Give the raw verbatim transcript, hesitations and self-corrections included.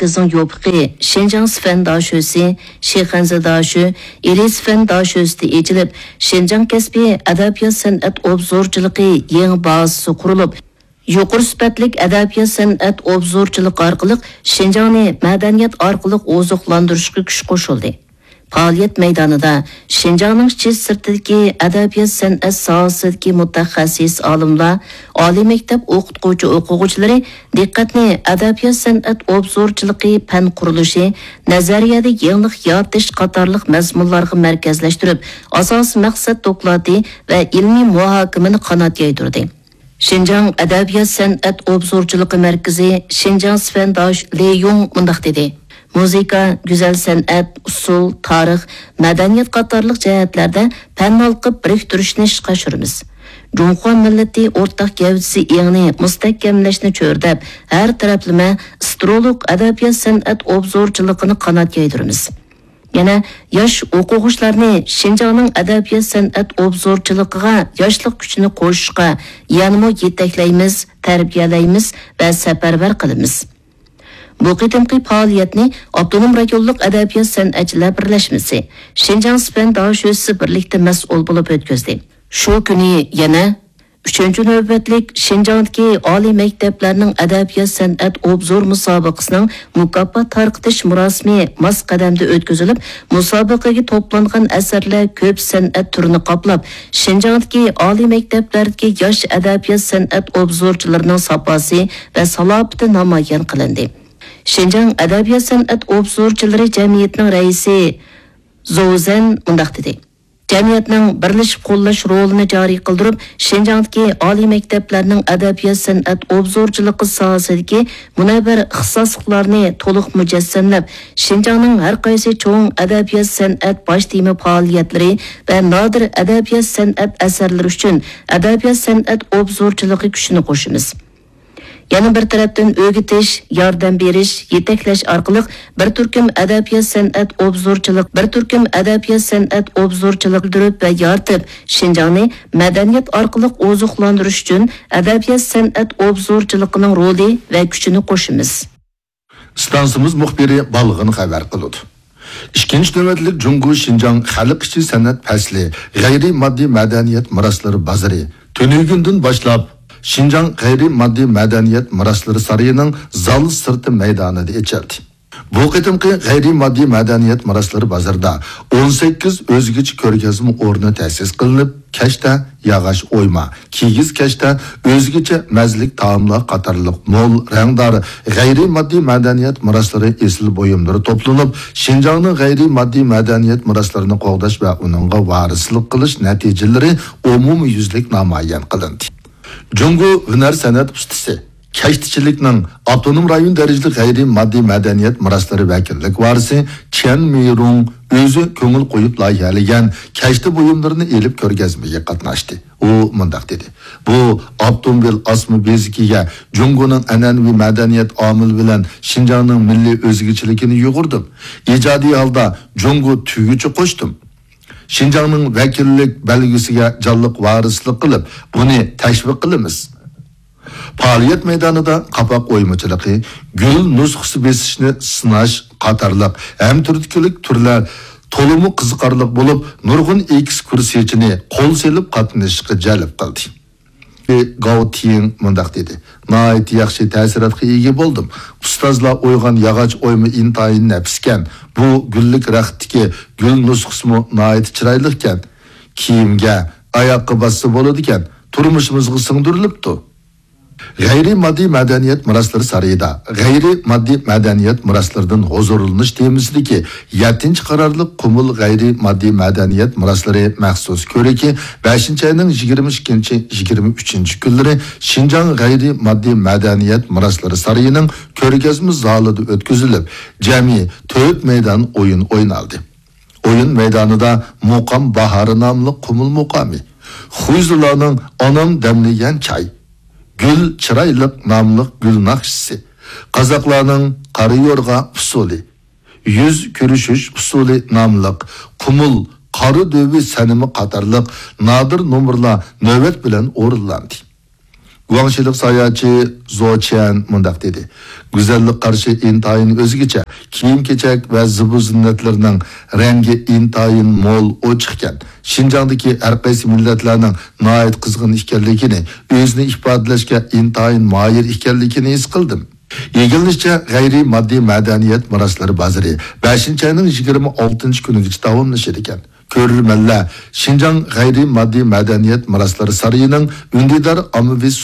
مەركىزىنىڭ يوپۇقى شىنجاڭ سىفەن داشۆسى، شىخەنزە داشۆ، ئىلى سىفەن داشۆسىدە ئېچىلىپ، شىنجاڭ كەسپىي ئەدەبىيات-سەنئەت ئوبزورچىلىقى يېڭى بازىسى قۇرۇلۇپ، يۇقىرى سۈپەتلىك ئەدەبىيات-سەنئەت ئوبزورچىلىقى ئارقىلىق شىنجاڭنى مەدەنىيەت ئارقىلىق ئوزۇقلاندۇرۇشقا كۈچ قوشۇلدى. پائالىيەت مەيدانىدا شىنجاڭنىڭ ئىچى سىرتىدىكى ئەدەبىيات-سەنئەت ساھەسىدىكى مۇتەخەسسىس ئالىملار، ئالىي مەكتەپ ئوقۇتقۇچى-ئوقۇغۇچىلىرى دىققەتنى ئەدەبىيات-سەنئەت ئوبزورچىلىقى پەن قۇرۇلۇشى، نەزەرىيەدە يېڭىلىق يارىتىش قاتارلىق مەزمۇنلارغا مەركەزلەشتۈرۈپ، ئاساسىي مەقسەت دوكلاتى ۋە ئىلمىي مۇھاكىمىنى قانات يايدۇردى. شىنجاڭ ئەدەبىيات-سەنئەت ئوبزورچىلىقى مەركىزى شىنجاڭ سىفەنداش لى يۇڭ مۇنداق دېدى: مۇزىكا، گۈزەل سەنئەت، ئۇسسۇل، تارىخ، مەدەنىيەت قاتارلىق جەھەتلەردە پەن ھالقىپ بىرىكتۈرۈشنى ئىشقا ئاشۇرىمىز. جۇڭخۇا مىللىتى ئورتاق گەۋدىسى ئېڭىنى مۇستەھكەملەشنى چۆرىدەپ، ھەر تەرەپلىمە سترولۇق ئەدەبىيات-سەنئەت ئوبزورچىلىقىنى قانات يايدۇرىمىز. يەنە ياش ئوقۇغۇچىلارنى شىنجاڭنىڭ ئەدەبىيات-سەنئەت ئوبزورچىلىقىغا ياشلىق كۈچىنى قوشۇشقا يەنىمۇ يېتەكلەيمىز، تەربىيەلەيمىز ۋە سەپەرۋەر قىلىمىز. بۇ قېتىمقى پائالىيەتنى ئاپتونوم رايونلۇق ئەدەبىيات-سەنئەتچىلەر بىرلەشمىسى، شىنجاڭ سىپەن داشۆسى بىرلىكتە مەسئۇل بولۇپ ئۆتكۈزدى. شۇ كۈنى يەنە ئۈچىنچى نۆۋەتلىك شىنجاڭدىكى ئالىي مەكتەپلەرنىڭ ئەدەبىيات-سەنئەت ئوبزور مۇسابىقىسىنىڭ مۇكاپات تارقىتىش مۇراسىمى ماس قەدەمدە ئۆتكۈزۈلۈپ، مۇسابىقىگە توپلانغان ئەسەرلەر كۆپ سەنئەت تۈرىنى قاپلاپ، شىنجاڭدىكى ئالىي مەكتەپلەردىكى ياش ئەدەبىيات-سەنئەت ئوبزورچىلىرىنىڭ ساپاسى ۋە سالاپىتى نامايان قىلىندى. شىنجاڭ ئەدەبىيات-سەنئەت ئوبزورچىلىرى جەمئىيىتىنىڭ رەئىسى زوۋ زەن مۇنداق دېدى: جەمئىيەتنىڭ بىرلىشىپ قوللاش رولىنى جارى قىلدۇرۇپ، شىنجاڭدىكى ئالىي مەكتەپلەرنىڭ ئەدەبىيات-سەنئەت ئوبزورچىلىقى ساھەسىدىكى مۇنەۋۋەر ئىختىساسلىقلارنى تولۇق مۇجەسسەملەپ، شىنجاڭنىڭ ھەر قايسى چوڭ ئەدەبىيات-سەنئەت باش تېما پائالىيەتلىرى ۋە نادىر ئەدەبىيات-سەنئەت ئەسەرلىرى ئۈچۈن ئەدەبىيات-سەنئەت ئوبزورچىلىقى كۈچىنى قوشىمىز. يەنە بىر تەرەپتىن، ئۆگىتىش، ياردەم بېرىش، يېتەكلەش ئارقىلىق بىر تۈركۈم ئەدەبىيات-سەنئەت ئوبزورچىلىق، بىر تۈركۈم ئەدەبىيات-سەنئەت ئوبزورچىلىق بىلدۈرۈپ ۋە يارىتىپ، شىنجاڭنى مەدەنىيەت ئارقىلىق ئوزۇقلاندۇرۇش ئۈچۈن ئەدەبىيات-سەنئەت ئوبزورچىلىقىنىڭ رولى ۋە كۈچىنى قوشىمىز. ئىستانسىمىز مۇخبىرى بالغىن خەۋەر قىلىدۇ. ئىككىنچى نۆۋەتلىك جۇڭگو شىنجاڭ خەلق ئىچى سەنئەت پەسلى، غەيرىي ماددىي مەدەنىيەت مىراسلىرى بازىرى تۈنۈگۈندىن باشلاپ شىنجاڭ غەيرىي ماددىي مەدەنىيەت مىراسلىرى سارىيىنىڭ زال سىرتى مەيدانىدا ئېچىلدى. بۇ قېتىمقى غەيرىي ماددىي مەدەنىيەت مىراسلىرى بازىرىدا ئون سەككىز ئۆزگىچە كۆرگەزمە ئورنى تەسىس قىلىنىپ، كەشتە، ياغاچ ئويما، كىگىز كەشتە، ئۆزگىچە مەززىلىك تائاملار قاتارلىق مول، رەڭدار، غەيرىي ماددىي مەدەنىيەت مىراسلىرى ئېسىل بۇيۇملىرى توپلىنىپ، شىنجاڭنىڭ غەيرىي ماددىي مەدەنىيەت مىراسلىرىنى قوغداش ۋە ئۇنىڭغا ۋارىسلىق قىلىش نەتىجىلىرى ئومۇميۈزلۈك نامايان قىلىندى. جۇڭگو ھۈنەر سەنئەت ئۇستىسى، كەشتىچىلىكنىڭ ئاپتونوم رايون دەرىجىلىك غەيرىي ماددىي مەدەنىيەت مىراسلىرى ۋەكىللىك ۋارىسى چيەن مىرۇڭ ئۆزى كۆڭۈل قويۇپ لايىھەلىگەن كەشتە بۇيۇملىرىنى ئېلىپ كۆرگەزمىگە قاتناشتى. ئۇ مۇنداق دېدى: بۇ ئاپتوموبىل ئاسما بېزىكىگە جۇڭگونىڭ ئەنئەنىۋى مەدەنىيەت ئامىلى بىلەن شىنجاڭنىڭ مىللىي ئۆزگىچىلىكىنى يۇغۇردۇم. ئىجادىي ھالدا جۇڭگو تۈگۈچى قوشتۇم. شىنجاڭنىڭ ۋەكىللىك بەلگىسىگە جانلىق ۋارىسلىق قىلىپ، بۇنى تەشۋىق قىلىمىز. پائالىيەت مەيدانىدا قاپاق ئويمىچىلىقى، گۈل نۇسخىسى بېسىشنى سىناش قاتارلىق ھەممە تۈردىكىلىك تۈرلەر تولىمۇ قىزىقارلىق بولۇپ، نۇرغۇن ئېكسكۇرسىيەچىنى قول سېلىپ قاتنىشىشقا جەلپ قىلدى. گاۋ تىڭ مۇنداق دېدى: ناھايىتى ياخشى تەسىراتقا ئىگە بولدۇم. ئۇستازلار ئويغان ياغاچ ئويما ئىنتايىن نەپىسكەن. بۇ گۈللۈك رەختتىكى گۈل نۇسخىسىمۇ ناھايىتى چىرايلىقكەن. كىيىمگە، ئاياققا باسسا بولىدىكەن. تۇرمۇشىمىزغا سىڭدۈرۈلۈپتۇ. غەيرىي ماددىي مەدەنىيەت مىراسلىرى سارىيىدا غەيرىي ماددىي مەدەنىيەت مىراسلىرىدىن ھۇزۇرلىنىش تېمىسىدىكى يەتتىنچى قارارلىق قۇمۇل غەيرىي ماددىي مەدەنىيەت مىراسلىرى مەخسۇس كۆرىكى بەشىنچى ئاينىڭ يىگىرمە ئىككىنچى، يىگىرمە ئۈچىنچى كۈنلىرى شىنجاڭ غەيرىي ماددىي مەدەنىيەت مىراسلىرى سارىيىنىڭ كۆرگەزمە زالىدا ئۆتكۈزۈلۈپ، جەمئىي تۆت مەيدان ئويۇن ئوينالدى. ئويۇن مەيدانىدا مۇقام باھارى ناملىق قۇمۇل مۇقامى، خۇيزۇلارنىڭ ئانام دەملىگەن چاي، گۈل چىرايلىق ناملىق گۈل ناخشىسى، قازاقلارنىڭ قارا يورغا ئۇسسۇلى، يۈز كۆرۈشۈش ئۇسسۇلى ناملىق قۇمۇل قارا دۆۋى سەنىمى قاتارلىق نادىر نومۇرلار نۆۋەت بىلەن ئورۇنلاندى. گۇاڭشىلىق ساياھەتچى زو چيەن مۇنداق دېدى: گۈزەللىك قارىشى ئىنتايىن ئۆزگىچە، كىيىم-كېچەك ۋە زىبۇ-زىننەتلىرىنىڭ رەڭگى ئىنتايىن مول، ئوچۇق ئىكەن. شىنجاڭدىكى ھەر قايسى مىللەتلەرنىڭ ناھايىتى قىزغىن ئىكەنلىكىنى، ئۆزىنى ئىپادىلەشكە ئىنتايىن ماھىر ئىكەنلىكىنى ھېس قىلدىم. ئىگىلىنىشىچە، غەيرىي ماددىي مەدەنىيەت مىراسلىرى بازىرى بەشىنچى ئاينىڭ يىگىرمە ئالتىنچى كۈنىگىچە داۋاملىشىدىكەن. كۆرۈرمەنلەر شىنجاڭ غەيرىي ماددىي مەدەنىيەت مىراسلىرى سارىيىنىڭ ئۈندىدار ئاممىۋى